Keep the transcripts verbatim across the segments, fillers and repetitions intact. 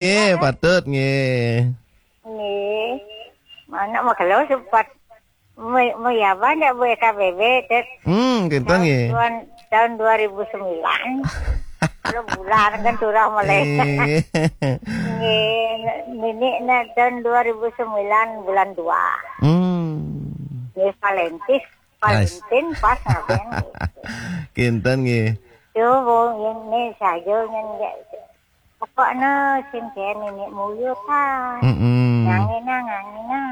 Nggih, patut nggih. Nggih. Mana mau kalau sempat mau mau ya banyak buat K B B, Dut. Hmm, kinten nggih. Tahun, tahun dua ribu sembilan. Kalau bulan kan turah mulai. Nggih. Nggih, nenek nak tahun dua ribu sembilan bulan dua. Hmm. Nggih, Valentis, Ais. Valentin pas ngapain? Kinten nggih. Tuh, Bung, ini saja yang dia. Pokoknya sing kayak nenek muyut kan. Mm-mm. Ngangina, ngangina.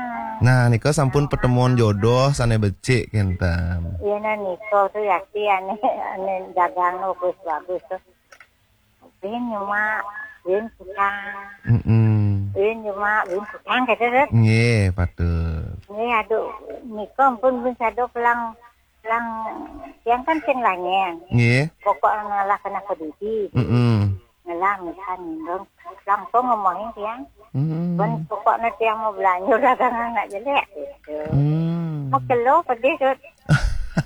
Nah, nika sampun pertemuan jodoh sane becik kinten. Iya, nah, nika tuh ya, si ane, ane dagang bagus, bagus tuh. Bin nyuma, bin tukang. Mm-mm. Bin nyuma, bin tukang, gitu, Dut. Nggih, patut. Nggih, aduh, nika ampun bin sadok lang, lang, yang kan sing lanyen. Nggih. Pokok ngalah kena pedidi. Mm-mm. Ngelah misal nindong, langsung ngomongin tiang. Mm-mm. Pun pokoknya tiang mau belanja dagangan nak jelek, gitu. Mm. Mau kelo pedih, Dut.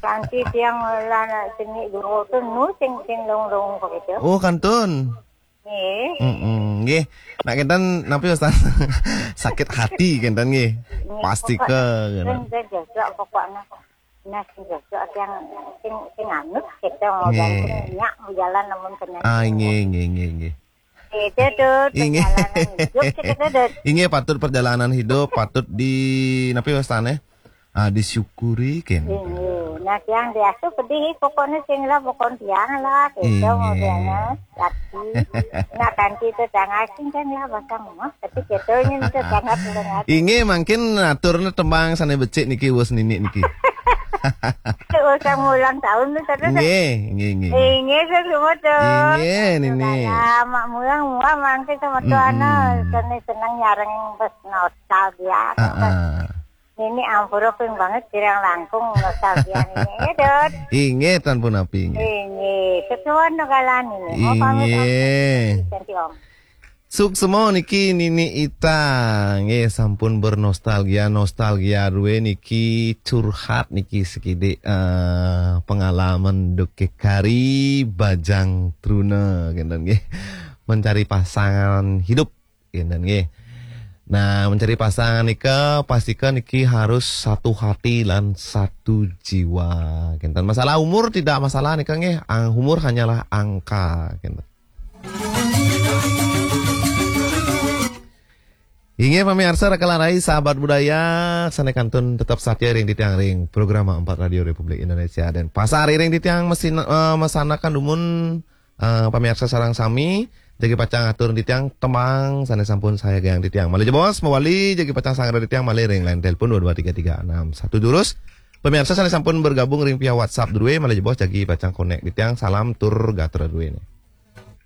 Nanti tiang lah nak sini dulu tu nu sing, sing long-long begitu. Oh, kantun. Nggih. Mm-mm, nggih. Nak kinten napi, Ustaz? Sakit hati kinten nggih. Nggih, pasti pokok ke, kan. Kan cocok pokoknya. Nah, sing cocok yang sing, sing anut kita mau nggih. Jalan, sing nyak mau jalan namun kena. Ah, nggih, nggih, nggih, nggih. Itu tuh, inggih. Perjalanan hidup kita tuh. Inggih, patut perjalanan hidup, patut di, napi wastane? Ah, disyukuri, kan? Inggih. Nah, yang biasa pedih, pokoknya sing lah, pokoknya tiang lah, gitu, inggih. Modelnya, tapi, nah, kanti itu jangan sing kan lah, pasang mah, tapi gitu, ini itu sangat. Inggih, mungkin aturnya tembang sana becik niki, wes nini niki. Itu usah ulang tahun tuh, terus. Nggih, nggih, nggih. Inggih, saya semua tuh. Inggih, nini. Mak mulang, mulang, mangke sama tuh, mm-mm. Anak, seneng, seneng nyareng, bes nostalgia. Ah, ah. Nini ampura ping banget kirang langkung nostalgia nini. Ya, Dut. Inggih, tan pun api, inggih. Inggih, sesuatu no kalan ini. Mau pamit, Om. Inggih. Ganti, Om. Suksma niki Nini Ita. Nggih, sampun bernostalgia, nostalgia duwe niki curhat niki sekidik, eh, pengalaman duke kari Bajang Truna, kinten nggih. Mencari pasangan hidup. Kinten nggih. Nah, mencari pasangan nika pastika niki harus satu hati lan satu jiwa. Kinten masalah umur tidak masalah nika nggih. Ang-, umur hanyalah angka. Kinten. Inggih pamiarsa Raka Larai sahabat budaya sane kantun tetap satia ring titiang ring program empat Radio Republik Indonesia dan pasar ring titiang mesin, eh, mesanakan dumun. Eh, pamiarsa sareng sami, jagi pacang atur titiang tembang sane sampun sayagiang titiang. Malih jebos mawali jagi pacang sangra titiang malih ring line telepon dua dua tiga tiga enam satu durus. Pamiarsa sane sampun bergabung ring via WhatsApp duwe malih jebos jagi pacang konek titiang salam tur gatra duwe ne.